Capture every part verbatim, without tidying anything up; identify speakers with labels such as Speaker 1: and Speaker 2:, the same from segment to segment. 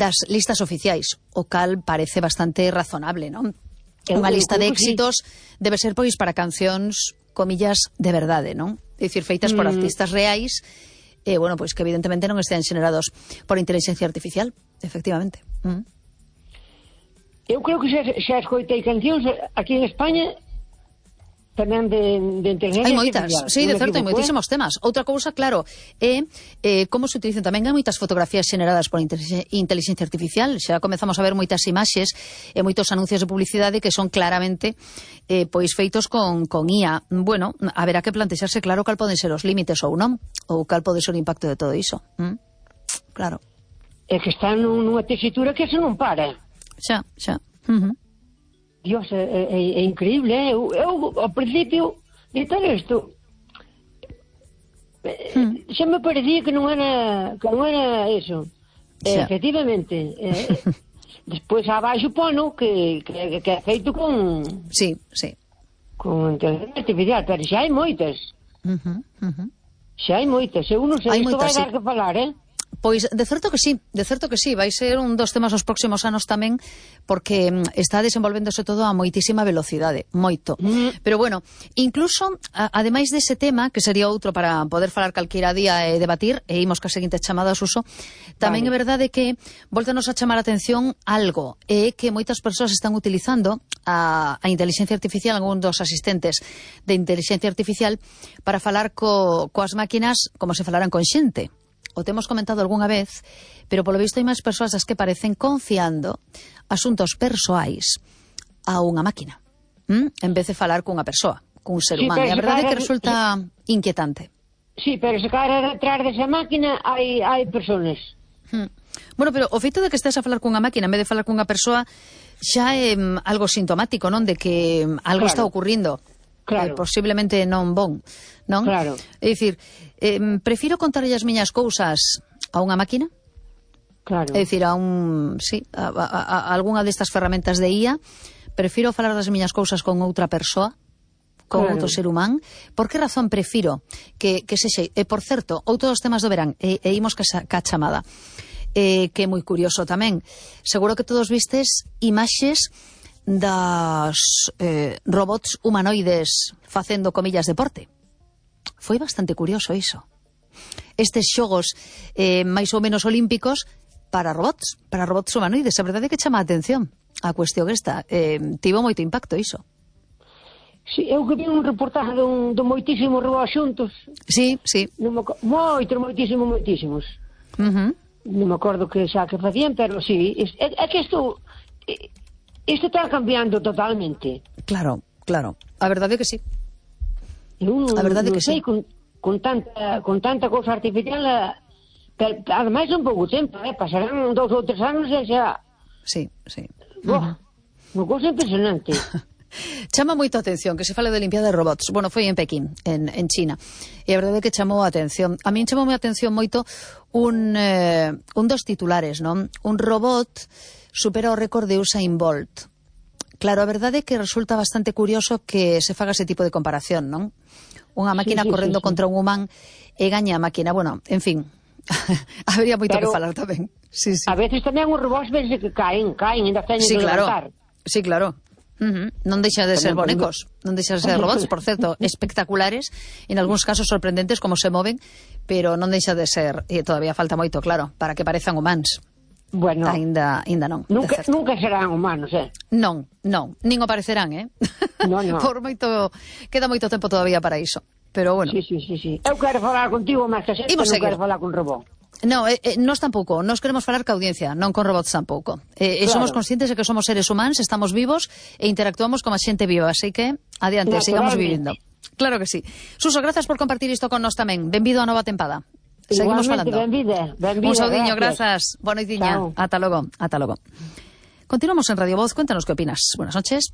Speaker 1: das listas oficiais, o cal parece bastante razonable, non? Unha lista de éxitos debe ser, pois, para cancións, comillas, de verdade, non? É dicir, feitas por mm. artistas reais, e, eh, bueno, pois que evidentemente non estean xenerados por inteligencia artificial, efectivamente. Mm.
Speaker 2: Eu creo que xa, xa escoitei cancións aquí en España tamén de, de inteligencia
Speaker 1: hai moitas,
Speaker 2: artificial.
Speaker 1: sí, de certo, hai moitísimos temas. Outra cousa, claro, é eh, como se utilizan tamén. Hai moitas fotografías xeneradas por inteligencia artificial. Xa comezamos a ver moitas imaxes e moitos anuncios de publicidade que son claramente eh, pois feitos con, con I A. Bueno, haberá que plantexarse claro cal poden ser os límites ou non, ou cal pode ser o impacto de todo iso. ¿Mm? Claro.
Speaker 2: É que está nunha tesitura que se non para.
Speaker 1: Xa, xa. Uh -huh.
Speaker 2: Dios, é, é, é increíble, eh? eu, eu ao principio de todo isto hmm. xa me parecía que non era que non era eso, eh, efectivamente eh, despois abaixo pono que, que, que é feito con
Speaker 1: sí, sí
Speaker 2: con inteligencia artificial, pero xa hai moitas uh -huh, uh -huh. xa hai moitas, eu non sei, isto vai dar sí. que falar, eh
Speaker 1: Pois, de certo que sí, de certo que sí, vai ser un dos temas os próximos anos tamén, porque está desenvolvéndose todo a moitísima velocidade, moito. Mm. Pero bueno, incluso, a, ademais dese tema, que sería outro para poder falar calquera día e debatir, e imos ca seguinte chamada, Suso, tamén vale. É verdade que voltanos a chamar a atención algo, é que moitas persoas están utilizando a, a inteligencia artificial, algún dos asistentes de inteligencia artificial, para falar co, coas máquinas como se falaran con xente. O temos comentado algunha vez, pero polo visto hai máis persoas as que parecen confiando asuntos persoais a unha máquina, ¿Mm? en vez de falar cunha persoa, cun ser humano. Sí, e a verdade é que resulta sí. inquietante.
Speaker 2: Sí, pero se cara detrás desa máquina hai, hai personas.
Speaker 1: Hmm. Bueno, pero o feito de que estés a falar cunha máquina en vez de falar cunha persoa xa é um, algo sintomático, non? De que um, algo claro. está ocurrindo. Claro. Eh, posiblemente non bon, non?
Speaker 2: Claro.
Speaker 1: É dicir, eh, prefiro contarlle as miñas cousas a unha máquina?
Speaker 2: Claro.
Speaker 1: É dicir, a un, sí, a, a, a algunha destas ferramentas de I A, prefiro falar das miñas cousas con outra persoa, con claro. outro ser humán. Por que razón prefiro que, que sexe? E, por certo, outro dos temas do verán, e, e imos ca, ca chamada, eh, que é moi curioso tamén. Seguro que todos vistes imaxes das eh, robots humanoides facendo comillas deporte. Foi bastante curioso iso. Estes xogos eh, máis ou menos olímpicos para robots, para robots humanoides. A verdade é que chama a atención a cuestión esta. Eh, tivo moito impacto iso.
Speaker 2: Sí, eu que vi un reportaje dun, dun moitísimos robots xuntos.
Speaker 1: Sí, sí.
Speaker 2: Non me, moitos, moitísimos, moitísimos.
Speaker 1: Uh -huh.
Speaker 2: Non me acordo que xa que facían, pero sí. É, é que isto... É, Isto está cambiando totalmente.
Speaker 1: Claro, claro. A verdade é que sí.
Speaker 2: Eu
Speaker 1: a verdade
Speaker 2: non
Speaker 1: que
Speaker 2: sei,
Speaker 1: sí.
Speaker 2: Con, con, tanta, con tanta cousa artificial, pero, ademais un pouco tempo, eh? Pasarán dous ou tres anos e xa...
Speaker 1: Sí, sí.
Speaker 2: Boa, uh -huh. Unha cousa impresionante.
Speaker 1: Chama moito a atención que se fale de limpiada de robots. Bueno, foi en Pekín, en, en China. E a verdade é que chamou a atención. A min chamou a atención moito un, eh, un dos titulares, non? Un robot supera o récord de Usain Bolt. Claro, a verdade é que resulta bastante curioso que se faga ese tipo de comparación, non? Unha máquina sí, sí, correndo sí, sí. contra un humán e gaña a máquina. Bueno, en fin, habería moito pero, que falar tamén. Sí, sí.
Speaker 2: A veces tamén os robots ves que caen, caen, ainda teñen
Speaker 1: sí,
Speaker 2: que
Speaker 1: claro.
Speaker 2: levantar.
Speaker 1: Sí, claro. Uh -huh. Non deixa de ser bonecos, non deixa de ser robots, por certo, espectaculares, en algúns casos sorprendentes como se moven, pero non deixa de ser, e todavía falta moito, claro, para que parezan humanos.
Speaker 2: Bueno,
Speaker 1: ainda, ainda non.
Speaker 2: Nunca, nunca serán humanos, eh?
Speaker 1: Non, non, nin o parecerán, eh?
Speaker 2: No, no.
Speaker 1: Por moito, queda moito tempo todavía para iso. Pero bueno.
Speaker 2: Sí, sí, sí, sí. Eu quero falar contigo, máis que xente, non quero falar con robot.
Speaker 1: No, eh, eh, nós tampouco, nós queremos falar ca audiencia, non con robots tampouco. Eh, claro. Somos conscientes de que somos seres humanos, estamos vivos e interactuamos como a xente viva, así que adiante, sigamos vivindo. Claro que sí. Suso, grazas por compartir isto con nós tamén. Benvido a nova tempada. Seguimos falando.
Speaker 2: Benvida, benvida,
Speaker 1: un saudiño, grazas. Boa noitiña. Ata logo, ata logo. Continuamos en Radio Voz. Cuéntanos qué opinas. Buenas noches.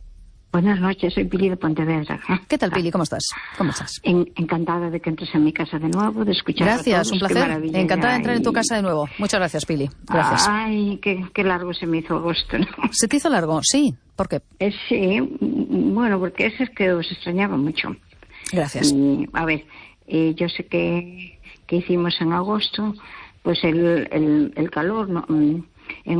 Speaker 3: Buenas noches, soy Pili de Pontevedra.
Speaker 1: ¿Qué tal, Pili? ¿Cómo estás? ¿Cómo estás?
Speaker 3: En, encantada de que entres en mi casa de nuevo, de escuchar
Speaker 1: Gracias,
Speaker 3: a todos.
Speaker 1: un placer. Encantada de entrar y... en tu casa de nuevo. Muchas gracias, Pili. Gracias.
Speaker 3: Ay, qué, qué largo se me hizo agosto, ¿no?
Speaker 1: ¿Se te hizo largo? Sí. ¿Por qué?
Speaker 3: Eh, sí, bueno, porque ese es que os extrañaba mucho.
Speaker 1: Gracias.
Speaker 3: Y, a ver, eh, yo sé que, que hicimos en agosto, pues el, el, el calor, ¿no?